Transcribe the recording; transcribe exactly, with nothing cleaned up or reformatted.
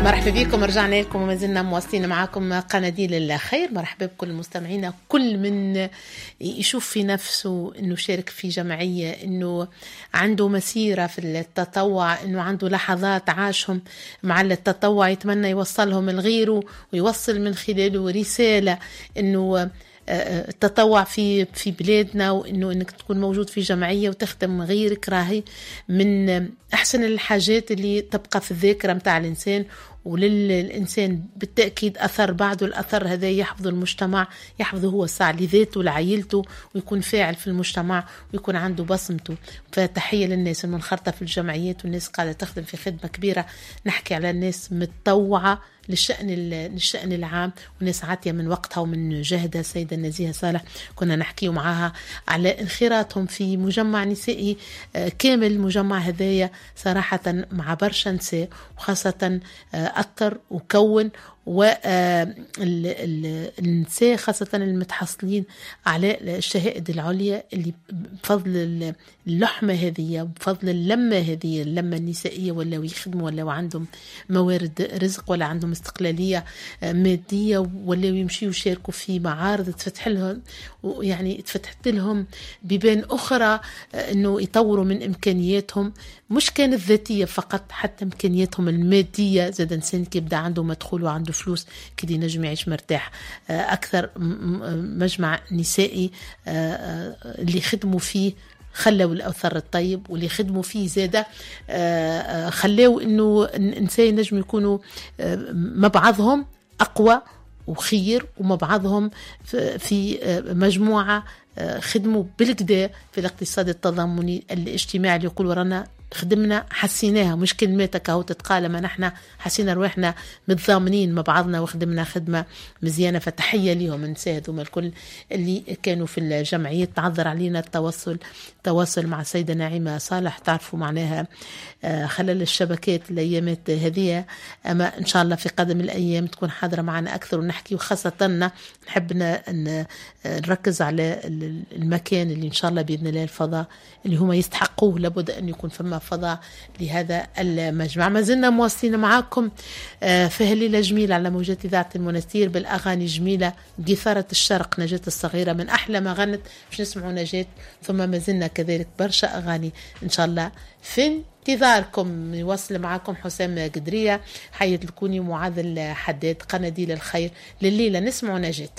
مرحبا بكم، رجعنا لكم وما زلنا مواصلين معاكم قناديل الخير. مرحبا بكل مستمعينا، كل من يشوف في نفسه انه شارك في جمعية، انه عنده مسيرة في التطوع، انه عنده لحظات عاشهم مع التطوع يتمنى يوصلهم لغيره ويوصل من خلاله رسالة انه التطوع في في بلادنا، وانه انك تكون موجود في جمعية وتخدم غيرك راهي من احسن الحاجات اللي تبقى في الذاكرة متاع الانسان. وللإنسان بالتأكيد أثر بعده، الأثر هذا يحفظه المجتمع، يحفظه هو الساعة لذاته لعائلته، ويكون فاعل في المجتمع ويكون عنده بصمته. فتحية للناس المنخرطة في الجمعيات والناس قاعدة تخدم في خدمة كبيرة. نحكي على الناس متطوعة للشأن للشأن العام، وناس عاطية من وقتها ومن جهدها. السيدة النزيهة صالح كنا نحكي معاها على انخراطهم في مجمع نسائي كامل. مجمع هذايا صراحة مع برشا نساء، وخاصة أثر وكون والنساء خاصة المتحصلين على الشهائد العليا، اللي بفضل اللحمة هذه وبفضل اللمة هذه، اللمة النسائية، ولا يخدموا ولا عندهم موارد رزق ولا عندهم استقلالية مادية، ولا يمشيوا يشاركوا في معارض تفتح لهم، يعني تفتحت لهم بيبان أخرى أنه يطوروا من إمكانياتهم، مش كانت ذاتية فقط، حتى إمكانياتهم المادية. زاد إنسان كيبدأ عنده مدخول وعنده فلوس كده ينجم يعيش مرتاح أكثر. مجمع نسائي اللي خدموا فيه خلوا الأثر الطيب، واللي خدموا فيه زادة خلاو إنه الإنسان نجم يكونوا مع بعضهم أقوى وخير، ومع بعضهم في مجموعة خدموا بالكدا في الاقتصاد التضامني الاجتماعي اللي يقولوا رانا خدمنا حسيناها، مش كلماتك اهو تتقال، ما نحن حسينا رواحنا متضامنين مع بعضنا وخدمنا خدمة مزيانه. فتحيه ليهم النساء هذوما الكل اللي كانوا في الجمعيات. تعذر علينا التواصل التواصل مع السيدة نعيمه صالح، تعرفوا معناها خلل الشبكات الايامات هذه، اما ان شاء الله في قادم الايام تكون حاضره معنا اكثر ونحكي، وخاصة نحب نركز على المكان اللي ان شاء الله باذن الله الفضاء اللي هما يستحقوه، لابد ان يكون فما فضاء لهذا المجمع. ما زلنا مواصلين معاكم في هالليلة جميلة على موجات إذاعة المنستير بالأغاني جميلة، قيثارة الشرق نجاة الصغيرة من أحلى ما غنت، باش نسمعوا نجاة، ثم ما زلنا كذلك برشا أغاني إن شاء الله في انتظاركم. يواصل معاكم حسام قدرية، حية الكوني، ومعاذ الحداد، قناديل الخير لليلة نسمعوا نجاة.